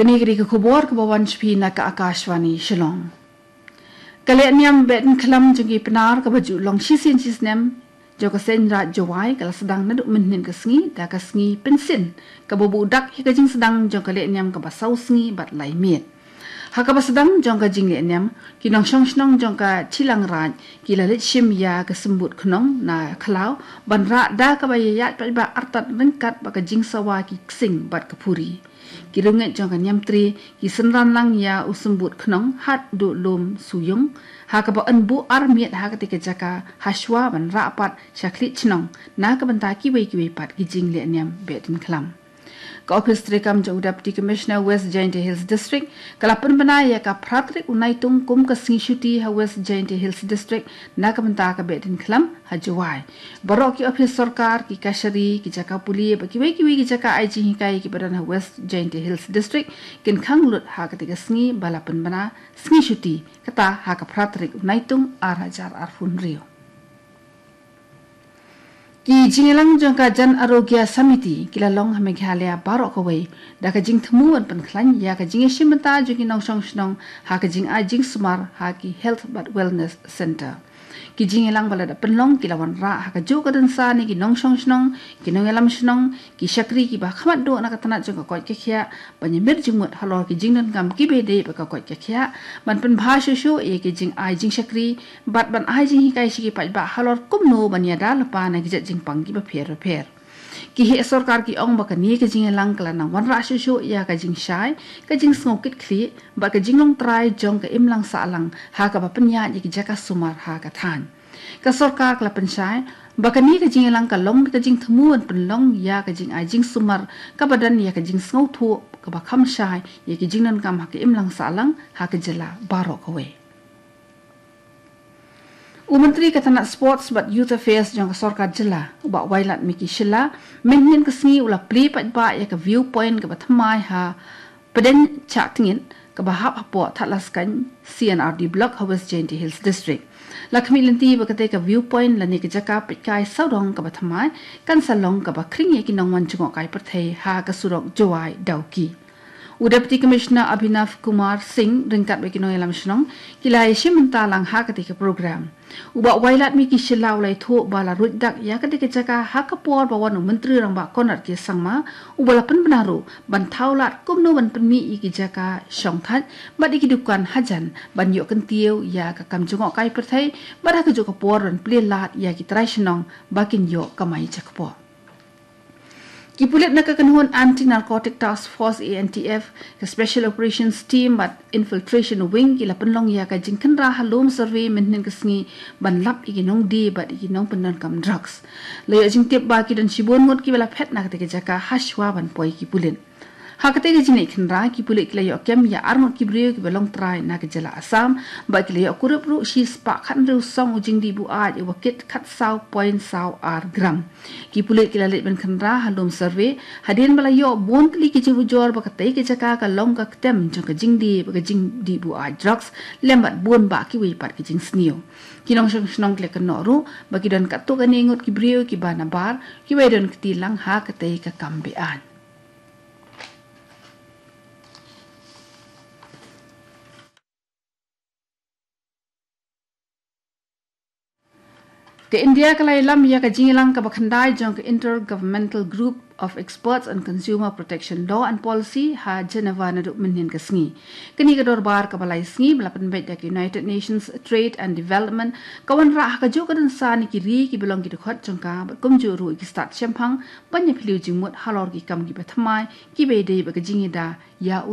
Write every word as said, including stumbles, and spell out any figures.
Kane ka dei ka khubor kaba wan sha phi na ka Akashvani Shillong. Ka lehniam Behdeiñkhlam jong ki Pnar kaba ju long shisien shisnem jong ka Seiñ Raij Jowai ka la sdang naduh mynhynnin ka sngi da ka sngi Pynsien kaba buh dak ïa ka jingsdang jong ka lehniam kaba saw sngi bad lai miet. Ha kaba sdang jong ka jinglehniam, ki nongshong shnong jong ka Chilang Raij ki la leit shim ïa ka Symbud Khnong na khlaw ban rah da kaba ïaid paidbah artat ryngkat bad ka jingsawa ki ksing bad ka phuri. Ki riewngeit jong ka Niamtre ki synran lang ïa u Symbud Khnong haduh Lum Suyung, ha kaba yn buh ar miet ha katei ka jaka hashwa ban rah pat sha Khlieh Shnong na ka bynta kiwei kiwei pat ki jinglehniam Behdeiñkhlam. Ka ophis treikam jong u Deputy Commissioner West Jaintia Hills District ka la pynbna ïa ka phra tarik u Naitung kum ka sngi shuti ha West Jaintia Hills District na ka bynta ka Behdeiñkhlam ha Jowai. Baroh ki ophis sorkar, ki kashari, ki jaka pule bad kiwei kiwei ki jaka ai jinghikai kiba don ha West Jaintia Hills District kin khang lut ha katei ka sngi ba la pynbna sngi shuti, kata ha ka phra tarik u Naitung ar hajar arphew hynriew. Ki jingïalang jong ka Jan Arogya Samiti ki la long ha Meghalaya baroh kawei da ka jingthmu ban pynkhlaiñ ïa ka jingïashim bynta jong ki nongshong shnong ha ka jingai jingsumar ha ki Health bad Wellness Centre. Ki jingïalang ba la dep pynlong ki la wanrah ha kajuh ka dynsan ïa ki nongshong shnong, ki nongïalam shnong, ki shakri kiba khmat duh na ka tnat jong ka koit ka khiah ban ïamir jingmut halor ki jingdonkam kiba ïadei bad ka koit ka khiah, ban pynbha shuh shuh ïa ki jingai jingshakri bad ban ai jinghikai sha ki paidbah halor kumno ban ïada lypa na ki jait jingpang kiba pher bapher. Ki heh sorkar ki ong ba kane ka jingïalang ka la nang wanrah shuh shuh ïa ka jingshai, ka jingsngew kitkhlieh bad ka jinglong trai jong ka imlang sahlang ha kaba pynïaid ïa ki jaka sumar ha ka thaiñ. Ka sorkar ka la pynshai ba kane ka jingïalang ka long ka jingthmu ban pynlong ïa ka jingai jingsumar kaba don ïa ka jingsngewthuh kaba kham shai ïa ki jingdonkam ha ka imlang sahlang ha ka jylla baroh kawei. U Myntri ka tnat Sports bad Youth Affairs jong ka sorkar jylla, u Bah Wailadmiki Shylla, mynhynnin ka sngi u la plie paidbah ïa ka viewpoint kaba thymmai ha Pdeng Chah Tngit kaba hap hapoh Thadlaskein C and R D Block ha West Jaintia Hills District. La khmih lynti ba katei ka viewpoint lane ka jaka peitkai sawdong kaba thymmai kan sa long kaba khring ïa ki nongwan jngohkai pyrthei ha ka surok Jowai Dawki. U Deputy Commissioner Abhinav Kumar Singh ryngkat bad ki nongïalam shnong ki la ïashim bynta lang ha katei ka program. U Bah Wailadmiki Shylla u la ïathuh ba la ruid dak ïa katei ka jaka ha ka por ba wan u Myntri Rangbah Conrad K Sangma, uba la pynbna ruh ban thaw lad kumno ban pynmih ïa ki jaka shongthait bad ïa ki dukan hajan ban ïoh kyntiew ïa ka kam jngohkai pyrthei bad ha kajuh ka por ban plie lad ïa ki trai shnong ba kin ïoh kamai jakpoh. Ki pulit na ka kynhun Anti Narcotic Task Force, A N T F, ka Special Operations Team bad Infiltration Wing ki la pynlong ïa ka jingkhynra ha Lum Survey mynhynnin ka sngi ban lap ïa ki nongdie bad ïa ki nongpyndonkam drugs. La ïoh jingtip ba ki don shibun ngut kiba la phet na katei ka jaka hashwa ban poi ki pulit. Ha katei ka jingleit khynra, ki pulit ki la ïoh kem ïa arngut ki briew kiba long trai na ka jylla Assam bad ki la ïoh kurup ruh shispah khathynriew song u jingdih buaid uba kit khatsaw point saw ar gram. Ki pulit ki la leit ban khynra ha Lum Survey hadien ba la ïoh bun tylli ki jingujor ba katei ka jaka ka long ka ktem jong ka jingdie bad ka jingdih buaid drugs lem bad bun bah kiwei pat ki jingsniew. Ki nongshong shnong ki la kynnoh ruh ba ki don katto katne ngut ki briew kiba nabar kiba ïadon kti lang ha katei ka kam beaiñ. Ka India ka la ïalam ïa ka jingïalang kaba khyndai jong ka Intergovernmental Group of Experts on Consumer Protection Law and Policy ha Geneva naduh mynhynnin ka sngi. Kane ka dorbar kaba lai sngi ba la pynbeit da ka United Nations Trade and Development ka wanrah ha kajuh ka dynsan ïa ki ri kiba long ki dkhot jong ka bad kumjuh ruh ïa ki stad shemphang ban ïaphylliew jingmut halor ki kam kiba thymmai kiba ïadei bad ka jingïada ïa u